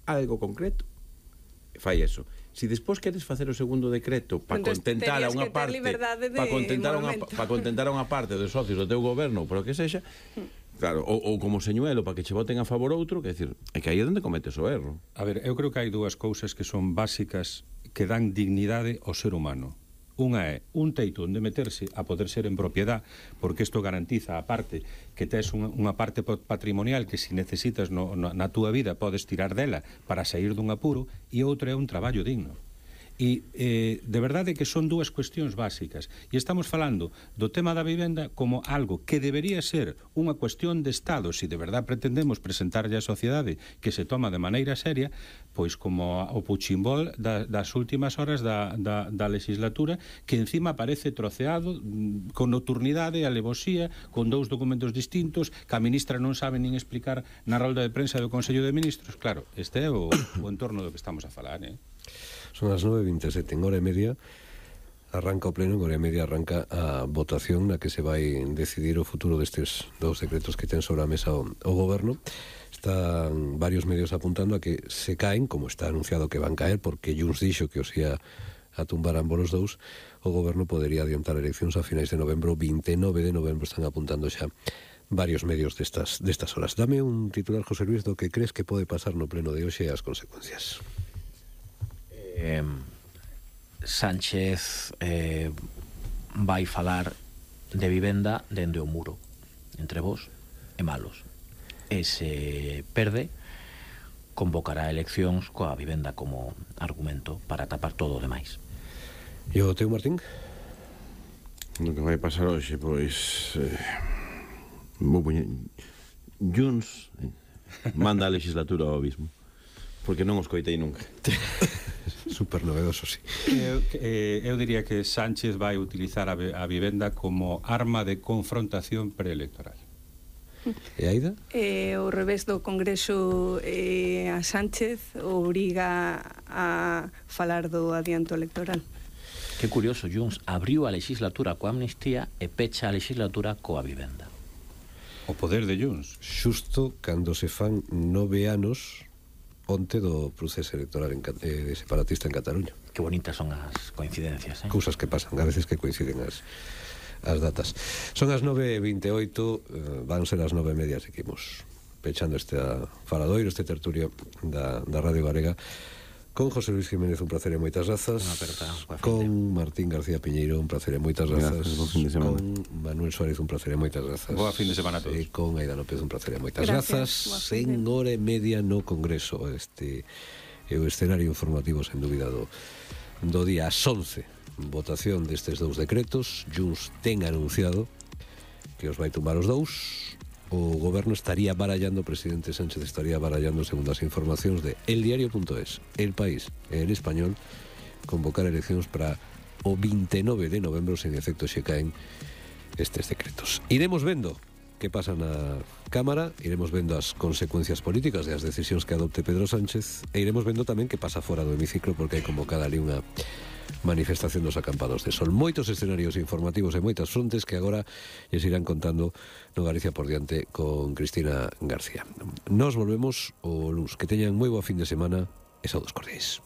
algo concreto, fai eso. Si despois queres facer o segundo decreto para contentar a unha parte, para contentar a unha parte dos socios do teu goberno, por o que sexa, claro, ou como señuelo para que che voten a favor outro, que decir, é que aí é onde cometes o erro. A ver, eu creo que hai dúas cousas que son básicas que dan dignidade ao ser humano. Unha é un teito onde meterse a poder ser en propiedad, porque isto garantiza a parte que tes unha parte patrimonial que se necesitas na túa vida podes tirar dela para sair dun apuro, e outra é un traballo digno. E de verdade que son dúas cuestións básicas, e estamos falando do tema da vivenda como algo que debería ser unha cuestión de Estado se de verdade pretendemos presentarlle á sociedade que se toma de maneira seria, pois como o puchimbol das últimas horas da legislatura, que encima parece troceado con nocturnidade e alevosía, con dous documentos distintos, que a ministra non sabe nin explicar na rolda de prensa do Consello de Ministros. Claro, este é o entorno do que estamos a falar, Son as 9:27, en hora e media arranca o pleno, en hora e media arranca a votación na que se vai decidir o futuro destes dous decretos que ten sobre a mesa o goberno. Están varios medios apuntando a que se caen, como está anunciado que van caer, porque Junts dixo que os ia a tumbar ambos os dous. O goberno podería adiantar eleccións a finais de novembro, 29 de novembro, están apuntando xa varios medios destas horas. Dame un titular, José Luis, do que crees que pode pasar no pleno de hoxe e as consecuencias. Sánchez vai falar de vivenda dende o muro entre vos e Malos, e se perde convocará eleccións coa vivenda como argumento para tapar todo o demais. E o teu, Martín? O que vai pasar hoxe, pois vou poñer Junts manda a legislatura ao abismo, porque non os coitei nunca. Super novedoso, sí. Eu diría que Sánchez vai utilizar a vivenda como arma de confrontación preelectoral. E Aida? O revés do Congreso, a Sánchez obriga a falar do adianto electoral. Que curioso, Junts abriu a legislatura coa amnistía e pecha a legislatura coa vivenda. O poder de Junts. Xusto cando se fan 9 anos onte do proceso electoral separatista en Cataluña. Que bonitas son as coincidencias, Cousas que pasan, a veces que coinciden as datas. Son as 9:28, van ser as 9:30, seguimos pechando este faladoiro, este tertulio da Radio Galega, con José Luis Jiménez, un placer e moitas grazas, con Martín García Piñeiro, un placer e moitas grazas, con Manuel Suárez, un placer e moitas grazas, boa fin de semana a todos, e con Aida López, un placer e moitas grazas. En hora e media no Congreso, este é o escenario informativo sen dúbida do día. Ás 11, votación destes dous decretos. Junts ten anunciado que os vai tumbar os dous. O goberno estaría barallando, o presidente Sánchez estaría barallando, segundo as informacións de eldiario.es, El País e El Español, convocar eleccións para o 29 de novembro, se en efecto xe caen estes decretos. Iremos vendo que pasa na Cámara, iremos vendo as consecuencias políticas das decisións que adopte Pedro Sánchez, e iremos vendo tamén que pasa fora do hemiciclo, porque hai convocada ali unha manifestación dos acampados de sol. Moitos escenarios informativos e moitas frontes que agora lles irán contando no Galicia por diante con Cristina García. Nos volvemos o luns. Que teñan moi boa fin de semana e saudos cordiais.